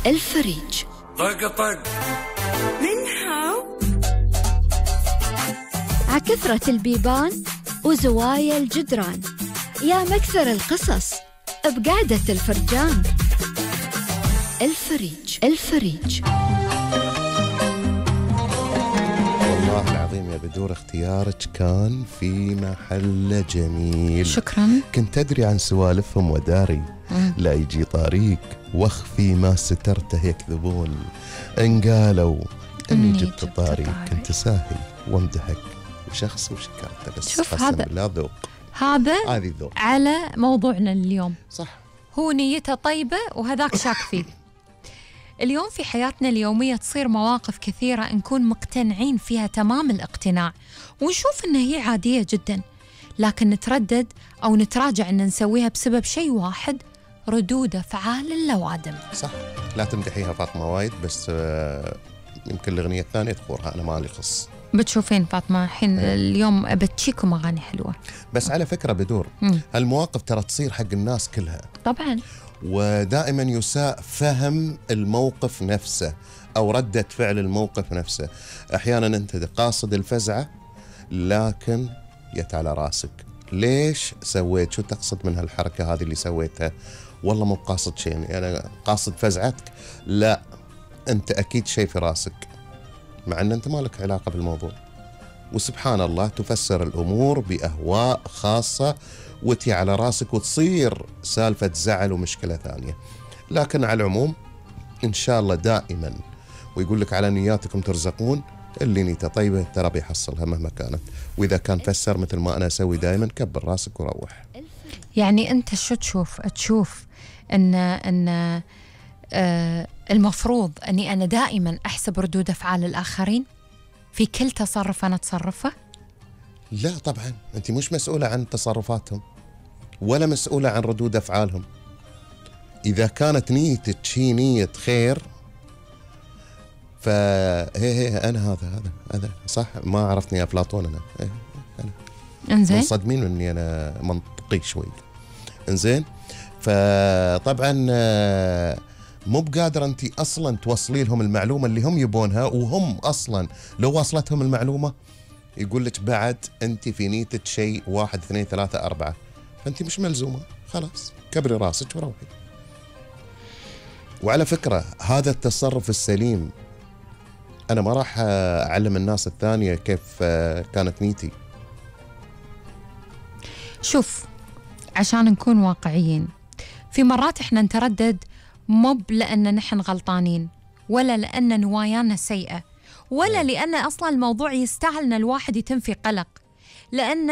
الفريج. طق طق من هاو عكثرة البيبان وزوايا الجدران، يا مكثر القصص بقعدة الفرجان. الفريج. والله العظيم يا بدور اختيارك كان في محل جميل. شكرا. كنت أدري عن سوالفهم وداري لا يجي طريق واخفي ما سترته يكذبون. إن قالوا إني جبت طاري كنت ساهي وامدحك وشخص وشكرته، بس شوف قسم هذا بالله ذوق. هذا ذوق على موضوعنا اليوم. صح، هو نيته طيبة وهذاك شاك فيه. اليوم في حياتنا اليومية تصير مواقف كثيرة نكون مقتنعين فيها تمام الاقتناع ونشوف إنها هي عادية جدا، لكن نتردد أو نتراجع إن نسويها بسبب شيء واحد: ردود أفعال اللوادم. صح، لا تمدحيها فاطمة وايد، بس يمكن الأغنية الثانية تذكرها، أنا مالي خص. بتشوفين فاطمة الحين اليوم بتشيكم أغاني حلوة. بس على فكرة بدور هالمواقف ترى تصير حق الناس كلها طبعا، ودائما يساء فهم الموقف نفسه أو ردة فعل الموقف نفسه. أحيانا أنت قاصد الفزعة لكن يت على راسك. ليش سويت؟ شو تقصد من هالحركة هذه اللي سويتها؟ والله مو قاصد شيء، يعني أنا قاصد فزعتك. لا، أنت أكيد شيء في راسك مع أن أنت ما لك علاقة بالموضوع، وسبحان الله تفسر الأمور بأهواء خاصة وتي على راسك وتصير سالفة زعل ومشكلة ثانية. لكن على العموم إن شاء الله دائما، ويقول لك على نياتكم ترزقون، اللي نيته طيبة ترى بيحصلها مهما كانت. وإذا كان فسر مثل ما أنا أسوي دائما، كبر راسك وروح. يعني أنت شو تشوف أن المفروض أني أنا دائما أحسب ردود أفعال الآخرين في كل تصرف أنا أتصرفه؟ لا طبعا، أنت مش مسؤولة عن تصرفاتهم ولا مسؤولة عن ردود أفعالهم. إذا كانت نيتك هي نية خير فهي أنا هذا صح. ما عرفتني يا أفلاطون، أنا انزين منصدمين إني أنا منطقي شوي. انزين، فطبعا مو بقادر أنت أصلا توصلي لهم المعلومة اللي هم يبونها، وهم أصلا لو وصلتهم المعلومة يقول لك بعد أنت في نيتك شيء 1 2 3 4، فأنت مش ملزومة. خلاص كبري راسك وروحي. وعلى فكرة هذا التصرف السليم. أنا ما راح أعلم الناس الثانية كيف كانت نيتي. شوف، عشان نكون واقعيين، في مرات إحنا نتردد مو لأن نحن غلطانين، ولا لأن نوايانا سيئة، ولا لأن أصلا الموضوع يستاهل أن الواحد يتم في قلق، لأن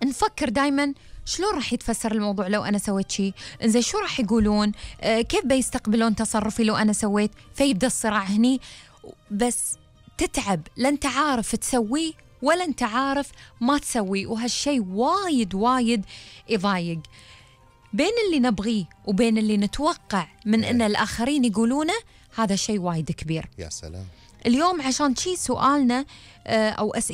نفكر دايما شلون راح يتفسر الموضوع لو أنا سويت شيء، إنزين شو راح يقولون، كيف بيستقبلون تصرفي لو أنا سويت، فيبدأ الصراع هني. بس تتعب، لا أنت عارف تسويه ولا أنت عارف ما تسويه، وهالشيء وايد يضايق. بين اللي نبغيه وبين اللي نتوقع من أن الآخرين يقولونه، هذا شيء وايد كبير. يا سلام. اليوم عشان شي سؤالنا أو أسئلة